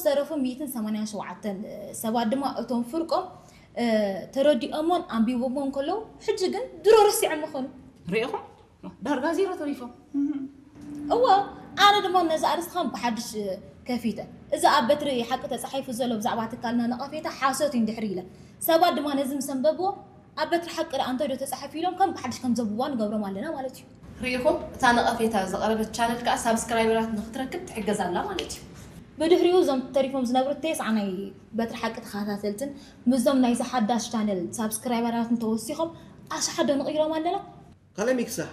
ዝተረፉ ሚእትን ሰማንያን ሸውዓተን ሰባት ድማ እቶም ፍርቆም ተረዲኦሞን ኣንቢቦሞን ከለዉ፣ ሕጂ ግን ድሮ ረሲዖም ምኾኑ። ርኢኹም? ዳርጋ ዜሮ ተሪፎም። እወ፣ ኣነ ድማ ነዚ ኣርእስቲ ከም ብሓድሽ ከፊተ፣ እዚ ኣብ በትሪ ሓቂ ተጻሒፉ ዘሎ ብዛዕባ ትካልና ነቐፌታ ሓሶት እዩ እንድሕር ኢለ፣ ሰባት ድማ ነዚ ምስ ኣንበብዎ፣ ኣብ በትሪ ሓቂ ደኣ እንታይ ዶ ተጻሒፉ ኢሎም ከም ብሓድሽ ከም ዘንብብዋ ንገብሮም ኣለና ማለት እዩ። ርኢኹም? እታ ነቐፌታ ዘቕረበት ቻነል ከኣ ሳብስክራይበራት ንኽትረክብ ትሕገዝ ኣላ ማለት እዩ። ብድሕሪኡ እዞም ተሪፎም ዝነብሩ ተስዓ ናይ በትሪ ሓቂ ተኸታተልትን ምስዞም ናይዚ ሓዳሽ ቻነል ሳብስክራይበራትን ተወሲኾም ኣሽሓት ዶ ንቕይሮም ኣለና? ካልኣይ ሚክሳሕ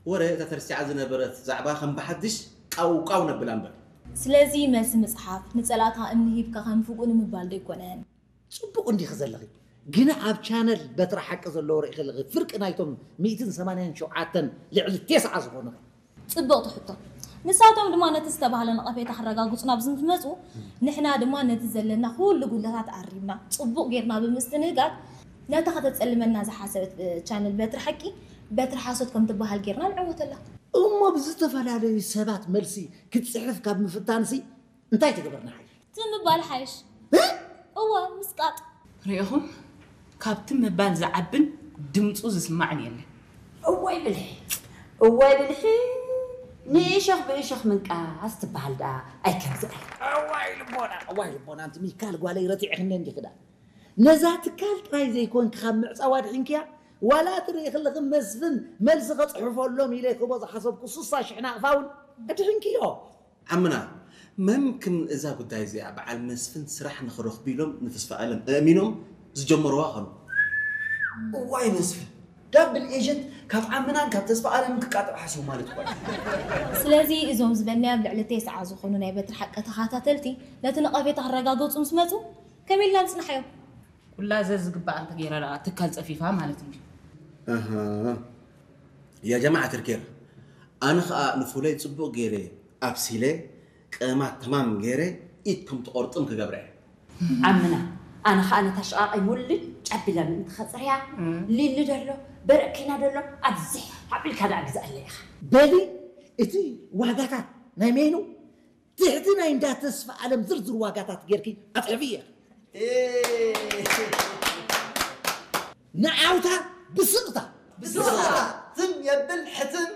ወረ እታ ተርሲዓ ዝነበረት ዛዕባ ከም ብሓድሽ ቃው ቃው ነብላ እምበር። ስለዚ መልሲ ምጽሓፍ ንጸላእታ እምኒ ሂብካ ከም ፍጉእ ንምባል ዶ ኣይኮነን? ጽቡቕ እንዲኺ ዘለኺ፣ ግና ኣብ ቻነል በትሪ ሓቂ ዘለዎ ርኢኺ ኣለኺ፣ ፍርቂ ናይቶም ሚእትን ሰማንያን ሸውዓተን ልዕሊ ተስዓ ዝኾኑ ኸ? ጽብቕቲ ሕቶ። ንሳቶም ድማ ነቲ ዝተባህለ ነቐፌታ ክረጋግጹ ናብ ዝመጹ፣ ንሕና ድማ ነቲ ዘለና ኩሉ ጉድለታት ኣሪምና፣ ጽቡቕ ጌርና ብምስትንጋር፣ ነታ ከተጸልመና ዝሓሰበት ቻነል በትሪ ሓቂ፣ በትሪ ሓሶት ከም ትበሃል ጌርና ንዕወተላ። እሞ ብዝተፈላለዩ ሰባት መልሲ ክትጽሕፍ ካብ ምፍታንሲ እንታይ ተገበርና ሓይሽ? ትም ምባል ሓይሽ። እወ፣ ምስቃጥ። ርኢኹም? ካብ ትም ምባል ዝዓብን ድምጹ ዝስማዕን የለን። እዋይ ብልሒ፣ እዋይ ብልሒ፣ ንእሾኽ ብእሾኽ ምንቃስ ትበሃል ደኣ ኣይከምዚ ኣይ። እዋይ ልቦና፣ እዋይ ልቦና፣ ኣንቲ ሚካል ጓለይ ረቲዕኽኒ እንዲኺ ደኣ። ነዛ ትካል ጥራይ ዘይኮንኪ ካብ ምዕጻው ኣድሒንክያ፣ ዋላ ትርኢ ከለኺ መስፍን መልሲ ከጽሕፈሎም ኢለ ክህቦ ዝሓሰብኩ ስሳ ሽሕ ናቕፋ እውን ኣድሒንክዮ። ዓምና፣ መምክን እዛ ጉዳይ እዚኣ በዓል መስፍን ስራሕ ንኽረኽቡ ኢሎም ንተስፋኣለም እእሚኖም ዝጀመርዋ ኸኑ። እዋይ መስፍን፣ ዳብል ኤጀንት ካብ ዓምናን ካብ ተስፋኣለምን ክቃጠብ ሓሲቡ ማለት እኳ እዩ። ስለዚ እዞም ዝበልናዮም ልዕሊ ተስዓ ዝኾኑ ናይ በትሪ ሓቂ ተኸታተልቲ ነቲ ነቐፌታ ክረጋገጹ ምስ መጹ ከመይ ኢልና ንጽንሓዮም? ኩላ ዘዝግባኣ እንተገይራ ደኣ ትካል ጸፊፋ ማለት እንድዩ። ኣሃ። ያ ጀማዓ ትርኬር፣ ኣነ ኸኣ ንፉለይ ጽቡቕ ገይረ ኣብሲለ፣ ቀማት ተማም ገይረ ኢድ ከም ትቖርጥም ክገብረ እየ። ዓምና፣ ኣነ ኸኣ ነታ ሽቓቐይ ሙልጭ ኣቢለ ምእንቲ ኸጽርያ፣ ሊሊ ደሎ፣ በርኪና ደሎ፣ ኣብዚሕ ኣቢልካ ደኣ ግዝኣለይ ኢኻ። በሊ፣ እቲ ዋጋታት ናይ ሜኑ ትሕቲ ናይ እንዳ ተስፋ ኣለም ዝርዝር ዋጋታት ጌርኪ ኣፅሕፍየ። ንዓውታ ብስቕታ ብስቕታ ትም የብል ሕትም።